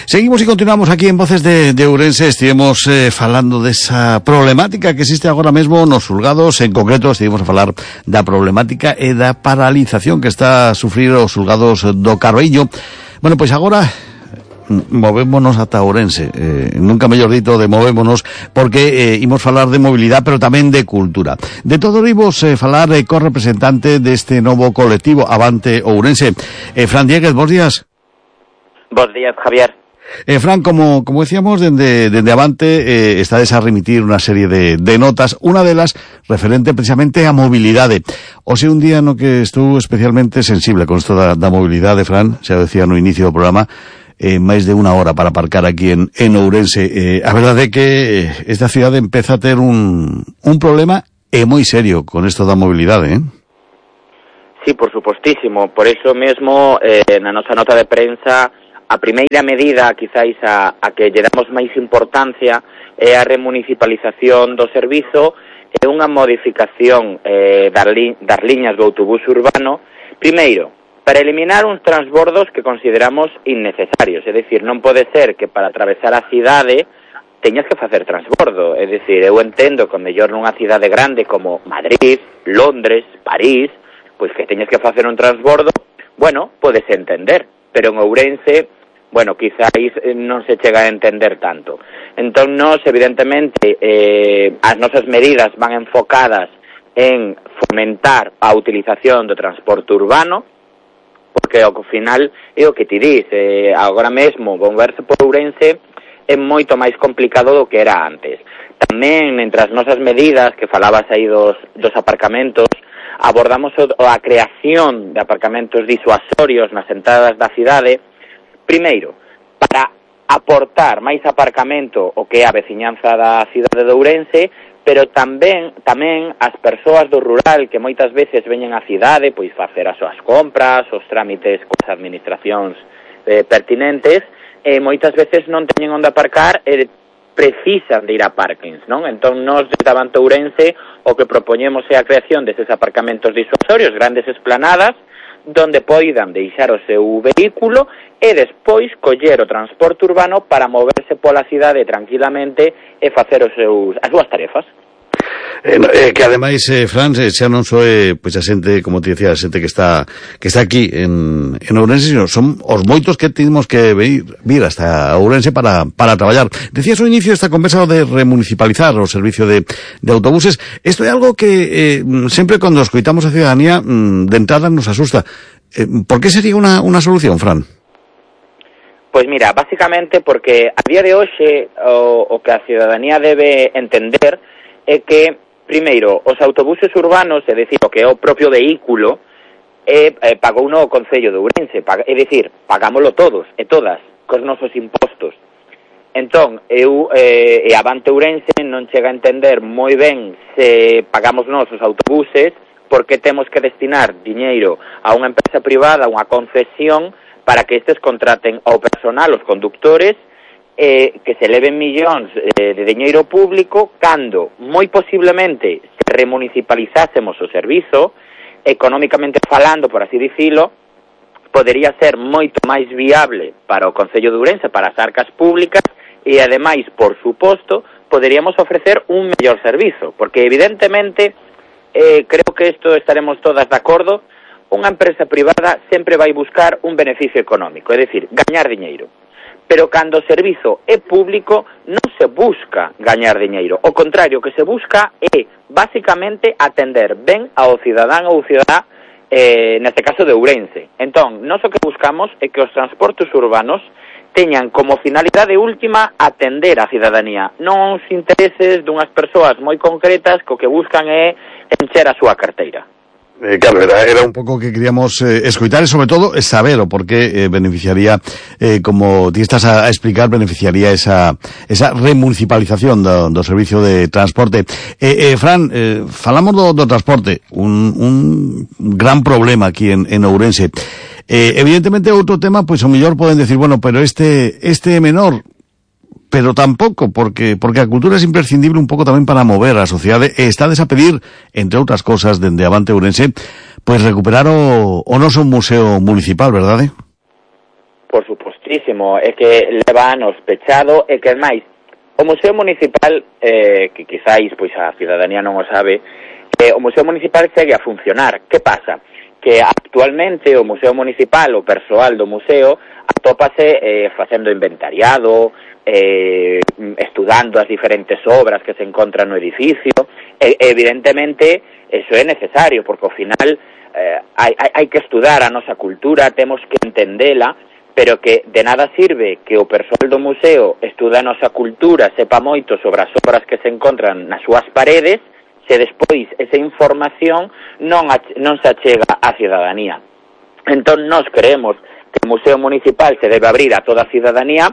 Seguimos y continuamos aquí en Voces de Ourense. Estivemos falando desa problemática que existe agora mesmo nos xulgados. En concreto, estivemos a falar da problemática e da paralización que está a sufrir os xulgados do Carballiño. Bueno, pois agora movémonos ata Ourense, nunca mellor dito de movémonos, porque imos falar de mobilidade, pero tamén de cultura. De todo imos falar co representante deste novo colectivo Avante Ourense, Fran Dieguez. Bos días. Bos días, Javier. Fran, como decíamos, dende Avante estades a remitir unha serie de notas, unha delas referente precisamente a mobilidade. Hoxe un día no que estou especialmente sensible con isto da mobilidade, Fran, xa decía no inicio do programa, máis de unha hora para aparcar aquí en Ourense. A verdade é que esta cidade empeza a ter un problema moi serio con isto da mobilidade, Sí, por supostísimo. Por eso mesmo, na nosa nota de prensa, a primeira medida, quizáis, a que lle damos máis importancia é a remunicipalización do servizo e unha modificación das liñas do autobús urbano, primeiro, para eliminar uns transbordos que consideramos innecesarios, é dicir, non pode ser que para atravesar a cidade teñas que facer transbordo, é dicir, eu entendo que mellor nunha cidade grande como Madrid, Londres, París, pois que teñas que facer un transbordo, bueno, podes entender, pero en Ourense, bueno, quizáis non se chega a entender tanto. Entón, nós, evidentemente, as nosas medidas van enfocadas en fomentar a utilización do transporte urbano, porque ao final é o que ti dis, agora mesmo moverse por Ourense é moito máis complicado do que era antes. Tamén, entre as nosas medidas, que falabas aí dos aparcamentos, abordamos a creación de aparcamentos disuasorios nas entradas da cidade, primeiro, para aportar máis aparcamento o que é a veciñanza da cidade de Ourense, pero tamén as persoas do rural que moitas veces veñen á cidade, pois facer as súas compras, os trámites coas administracións pertinentes, e moitas veces non teñen onde aparcar e precisan de ir a parkings, non? Entón, nós desde Avante Ourense o que propoñemos é a creación deses aparcamentos disuasorios, grandes esplanadas, donde poidan deixar o seu vehículo e despois coller o transporte urbano para moverse pola cidade tranquilamente e facer as súas tarefas. Que ademais, Fran, xa non soe pois a xente, como te decía, a xente que está aquí en Ourense, sino son os moitos que temos que vir hasta Ourense para traballar. Decías ao inicio esta conversa de remunicipalizar o servicio de autobuses. Isto é algo que sempre cando escoitamos a ciudadanía de entrada nos asusta. Por que sería unha solución, Fran? Pois mira, básicamente porque a día de hoxe o que a ciudadanía debe entender é que, primeiro, os autobuses urbanos, é dicir, o que é o propio vehículo, pagou no Concello de Ourense, é dicir, pagámoslo todos e todas, cos nosos impostos. Entón, eu e Avante Ourense non chega a entender moi ben se pagamos nós os autobuses, porque temos que destinar diñeiro a unha empresa privada, unha concesión, para que estes contraten ao personal, os conductores, que se eleven millóns de diñeiro público, cando, moi posiblemente, se remunicipalizásemos o servizo, económicamente falando, por así dicilo, podería ser moito máis viable para o Concello de Ourense, para as arcas públicas, e ademais, por suposto, poderíamos ofrecer un mellor servizo, porque evidentemente, creo que isto estaremos todas de acordo, unha empresa privada sempre vai buscar un beneficio económico, é dicir, gañar diñeiro. Pero cando o servizo é público non se busca gañar diñeiro. O contrario, o que se busca é, basicamente, atender ben ao cidadán ou cidadá, neste caso de Ourense. Entón, nós o que buscamos é que os transportes urbanos teñan como finalidade última atender a cidadanía, non os intereses dunhas persoas moi concretas que o que buscan é encher a súa carteira. Claro, era un pouco que queríamos escoitar e, sobre todo, saber o por que beneficiaría, como ti estás a explicar, beneficiaría esa remunicipalización do servicio de transporte. Fran, falamos do transporte, un gran problema aquí en Ourense. Evidentemente, outro tema, pois o mellor poden decir, bueno, pero este é menor, pero tampouco, porque a cultura é imprescindible un pouco tamén para mover a sociedade, e estades a pedir, entre outras cosas, dende Avante Ourense, pois recuperar o noso museo municipal, verdade? Por supostísimo, é que leva anos pechado e que, máis, o Museo Municipal, que quizáis pois a cidadanía non o sabe, o Museo Municipal segue a funcionar. Que pasa? Que actualmente o Museo Municipal, o persoal do museo, atópase facendo inventariado, estudando as diferentes obras que se encontran no edificio, e evidentemente eso é necesario, porque ao final hai que estudar a nosa cultura, temos que entendela, pero que de nada sirve que o persoal do museo estuda a nosa cultura, sepa moito sobre as obras que se encontran nas súas paredes, se despois esa información non se achega á cidadanía. Entón, nós creemos que o Museo Municipal se debe abrir a toda a cidadanía,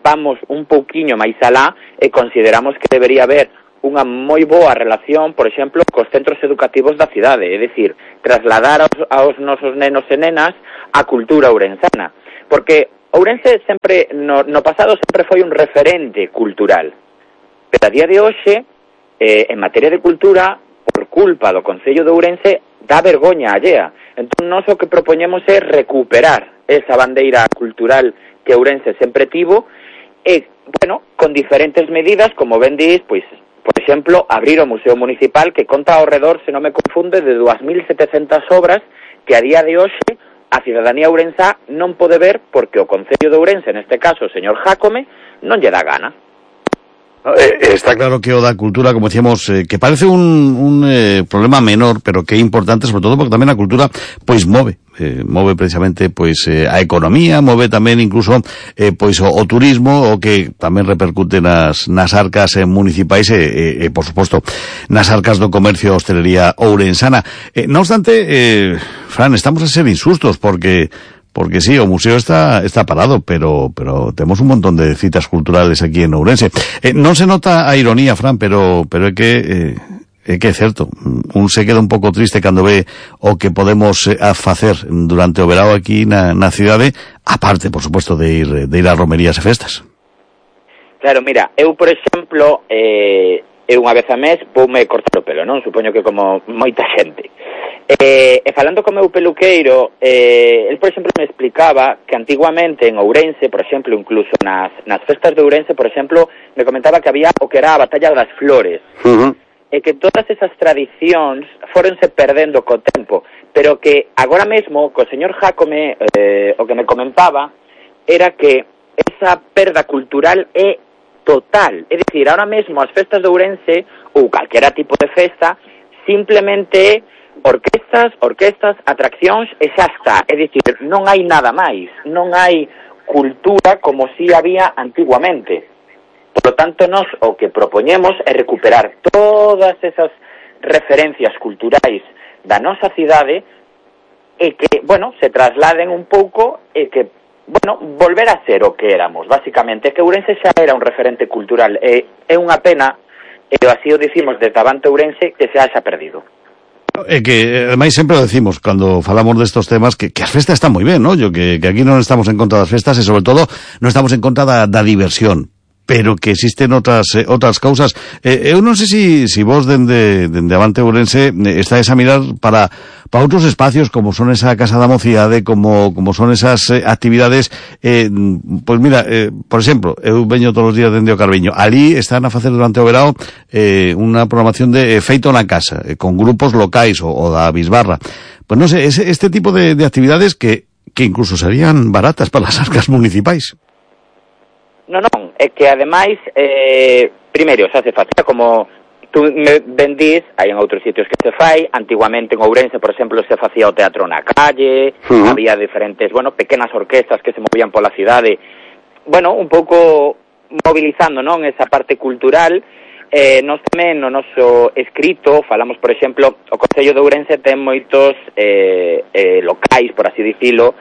vamos un pouquiño máis alá e consideramos que debería haber unha moi boa relación, por exemplo, cos centros educativos da cidade, é dicir, trasladar aos nosos nenos e nenas a cultura ourensana. Porque Ourense sempre, no pasado, sempre foi un referente cultural. Pero a día de hoxe, en materia de cultura, por culpa do Concello de Ourense, dá vergoña allea. Entón, nós o que propoñemos é recuperar esa bandeira cultural que Ourense sempre tivo e, bueno, con diferentes medidas, como ben dis, pois, por exemplo, abrir o Museo Municipal que conta ao redor, se non me confunde, de 2.700 obras que a día de hoxe a cidadanía ourensá non pode ver porque o Concello de Ourense, neste caso o señor Jácome, non lle dá gana. Está claro que o da cultura, como decíamos, que parece un problema menor, pero que é importante, sobre todo porque tamén a cultura pois move precisamente pois a economía, move tamén incluso pois o turismo, o que tamén repercute nas arcas municipais e por suposto nas arcas do comercio e hostelería ourensana. Non obstante, Fran, estamos a ser insustos porque sí, o museo está parado, pero temos un montón de citas culturales aquí en Ourense. Non se nota a ironía, Fran, pero é que é certo. Un se queda un pouco triste cando ve o que podemos facer durante o verao aquí na cidade, aparte, por suposto, de ir a romerías e festas. Claro, mira, eu, por exemplo, unha vez a mes voume cortar o pelo, non? Supoño que como moita xente. E falando co meu peluqueiro, el, por exemplo, me explicaba que antiguamente en Ourense, por exemplo, incluso nas festas de Ourense, por exemplo, me comentaba que había o que era a Batalla das Flores, e que todas esas tradicións fóronse perdendo co tempo, pero que agora mesmo, co señor Jácome, o que me comentaba, era que esa perda cultural é total, é dicir, ahora mesmo as festas de Ourense, ou calquera tipo de festa, simplemente orquestas, atraccións e xa está, é dicir, non hai nada máis, non hai cultura como si había antiguamente. Por lo tanto, nós o que propoñemos é recuperar todas esas referencias culturais da nosa cidade e que, bueno, se trasladen un pouco e que, bueno, volver a ser o que éramos, basicamente, que Ourense xa era un referente cultural, e é unha pena, e así o dicimos desde Avante Ourense, que se haxa perdido. É que, ademais, sempre o decimos, cando falamos destos temas, que as festas están moi ben, non? Que aquí non estamos en contra das festas e, sobre todo, non estamos en contra da diversión, pero que existen outras causas. Eu non sei se vos dende Avante Ourense estáis a mirar para outros espacios como son esa Casa da Mocidade, como son esas actividades, pois mira, por exemplo, eu veño todos os días dende o Carveño, ali están a facer durante o verao unha programación de feito na casa, con grupos locais o da Bisbarra. Pois non sei, este tipo de actividades que incluso serían baratas para as arcas municipais. Non, é que ademais, primeiro, xa se facía como tú me vendís, hai en outros sitios que se fai, antiguamente en Ourense, por exemplo, se facía o teatro na calle, había diferentes, bueno, pequenas orquestas que se movían pola cidade, bueno, un pouco mobilizando, non, esa parte cultural. Nós tamén no noso escrito falamos, por exemplo, o Concello de Ourense ten moitos locais, por así dicilo,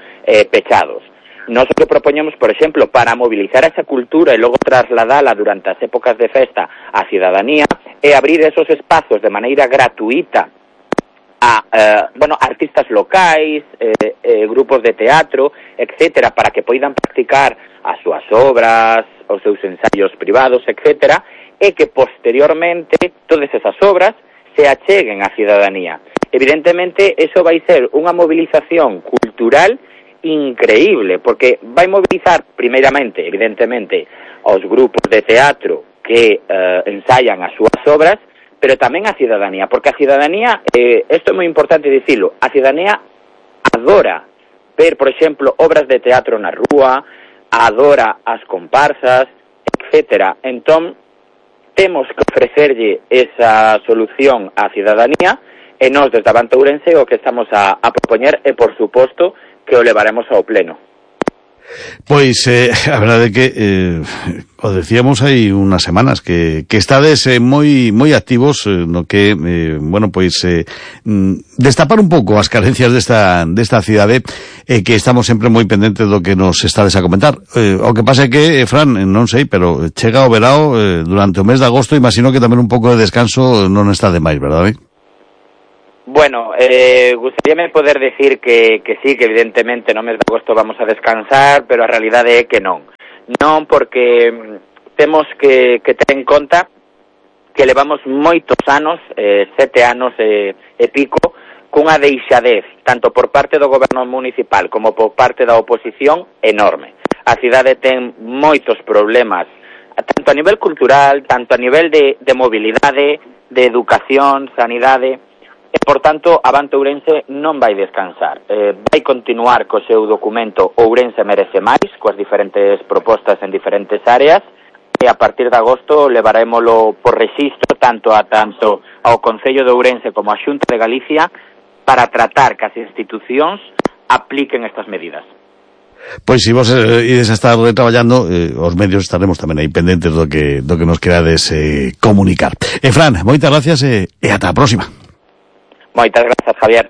pechados. Nós o que propoñemos, por exemplo, para mobilizar esa cultura e logo trasladala durante as épocas de festa á cidadanía, é abrir esos espazos de maneira gratuita a artistas locais, grupos de teatro, etcétera, para que poidan practicar as súas obras, os seus ensaios privados, etcétera, e que posteriormente todas esas obras se acheguen á cidadanía. Evidentemente, eso vai ser unha movilización cultural increíble, porque vai mobilizar, primeiramente, evidentemente, aos grupos de teatro que ensaian as súas obras, pero tamén a cidadanía, porque a cidadanía, isto é moi importante dicilo, a cidadanía adora ver, por exemplo, obras de teatro na rúa, adora as comparsas, etcétera. Entón, temos que ofrecerlle esa solución á cidadanía, e nós, desde Avante Ourense, o que estamos a propoñer é, por suposto, que o levaremos ao pleno. Pois, a verdade é que, o decíamos hai unhas semanas, que estades moi activos no que, bueno, pois, destapar un pouco as carencias desta cidade, que estamos sempre moi pendentes do que nos estades a comentar. O que pasa é que, Fran, non sei, pero chega o verao durante o mes de agosto, imagino que tamén un pouco de descanso non está de máis, verdade? Bueno, gustaríame poder decir que sí, que evidentemente no mes de agosto vamos a descansar, pero a realidade é que non. Non, porque temos que ter en conta que levamos moitos anos, 7 anos e pico, cunha deixadez, tanto por parte do goberno municipal como por parte da oposición, enorme. A cidade ten moitos problemas, tanto a nivel cultural, tanto a nivel de mobilidade, de educación, sanidade. E, por tanto, Avante Ourense non vai descansar. Vai continuar co seu documento Ourense merece máis, coas diferentes propostas en diferentes áreas, e a partir de agosto levarémolo por rexistro tanto ao Concello de Ourense como á Xunta de Galicia para tratar que as institucións apliquen estas medidas. Pois se vos ides a estar traballando, os medios estaremos tamén aí pendentes do que nos querades comunicar. Fran, moitas gracias e ata a próxima. Moitas grazas, Javier.